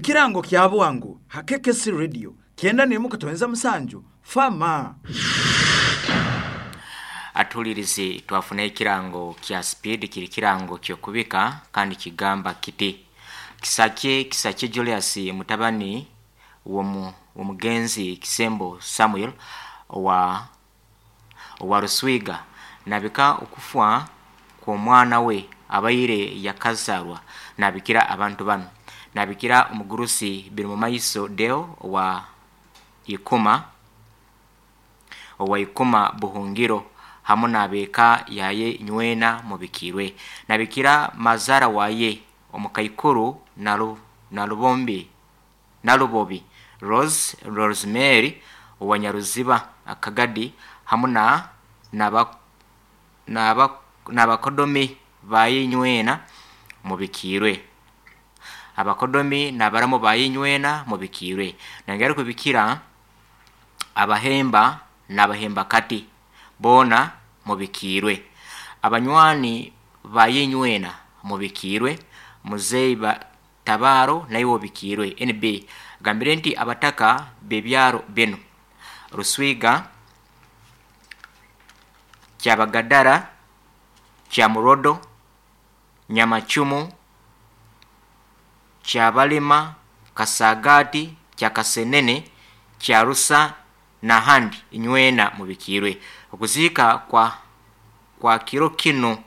Ekirango kya bwangu ha KKC Radio 91.7 Fama. Atulirize twafuna ekirango kya speed, kiri kirango kyokubika kandi kigamba kiti: Kisakye Kisakye Julius, mutabani w'omugenzi Kisembo Samuel owa Ruswiga, nabika okufa kw'omwana we abaire yakazarwa. Nabikira abantu bano: nabikira omugurusi Birimumaiso Deo owa Ikuma Buhungiro hamu n'abeeka yaye nywena mubikirwe. Nabikira mazara waye omukaikuru Nalubombi Nalubobi Rose Rosemary owa Nyaruziba Akagadi hamu na n'abakodomi baye nywena mubikirwe. Abakodomi n'abaramu baye nywena mubikirwe. Nangera kubikira abahemba n'abahemba kati boona mubikirwe. Abanywani baye nywena mubikirwe. Muzeyi Tabaro naiwe obikirwe. NB gambire nti abataka b'ebyaro binu: Ruswiga, Kyabagadara, Kyamurodo, Nyamacumu, Kyabalima, Kasagati, Kyakasenene, Kyarusa n'ahandi inywena mubikirwe. Okuziika kwa kiro kinu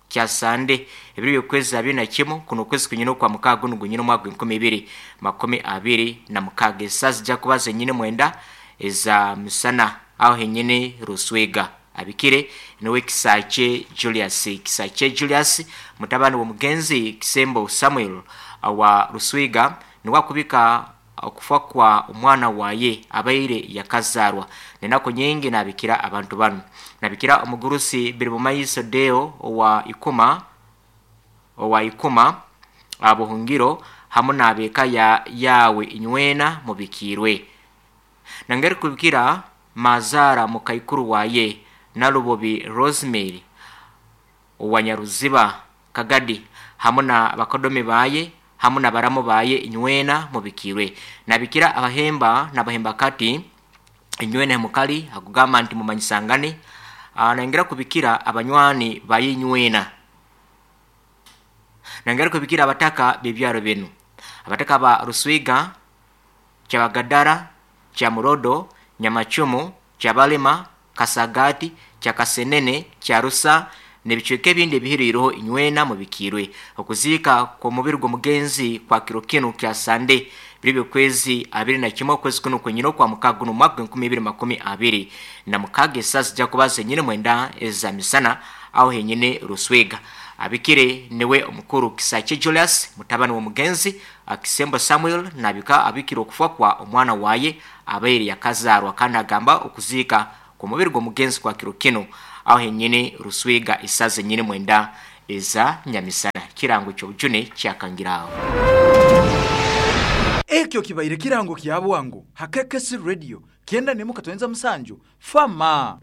kya Sande, ebiro by'okwezi 21, kuno okwezi kunyina okwa mukaaga, guno gunyina omwaka 2026, esaaha zijja kuba zenyine 9 eza misana aho henyine Ruswega. Abikire niwe Kisakye Julius, Kisakye Julius, mutabani w'omugenzi Kisembo Samuel wa Ruswiga, niwe akubika okufa kwa omwana waye abaire yakazarwa. Nenaku nyingi. Nabikira abantu banu: nabikira omugurusi Birimumaiso Deo owa Ikuma Buhungiro hamu n'abeeka ya yawe inywena mubikirwe. Nangeri kubikira mazara mukaikuru waye Nalubobi Rosemary owa Nyaruziba Kagadi hamu na bakodomi baye hamu na baramu baye inywena mubikirwe. Nabikira abahemba n'abahemba kati inywena mukali, akugamba nti mumanyisangane. Nangera kubikira abanywani baye inywena. Nangera kubikira abataka b'ebyaro binu: abataka ba Ruswiga, Kyabagadara, Kyamurodo, Nyamacumu, Kyabalima, Kasagati, Kyakasenene, Kyarusa n'ebicweka ebindi ebihiriireho inywena mubikirwe. Okuziika kw'omubiri gw'omugenzi kwa kiro kinu kya Sande, biri by'okwezi 21, okwezi kuno kwenyine okwa mukaaga, guno omwaka 2026, esaaha zijja kuba zenyine 9 eza misana aho henyine Ruswega. Abikire niwe omukuru Kisakye Julius, mutabani w'omugenzi Kisembo Samuel, nabika abikire okufa kwa omwana waye abaire yakazarwa, kandi agamba okuziika kw'omubiri gw'omugenzi kwa kiro kinu aho henyine Ruswiga, esaaha zenyine 9 eza nyamisana. Kirango ky'obujune kyakangiraho. Ekyo kibaire kirango kya bwangu ha KKC Radio 91.7 Fama.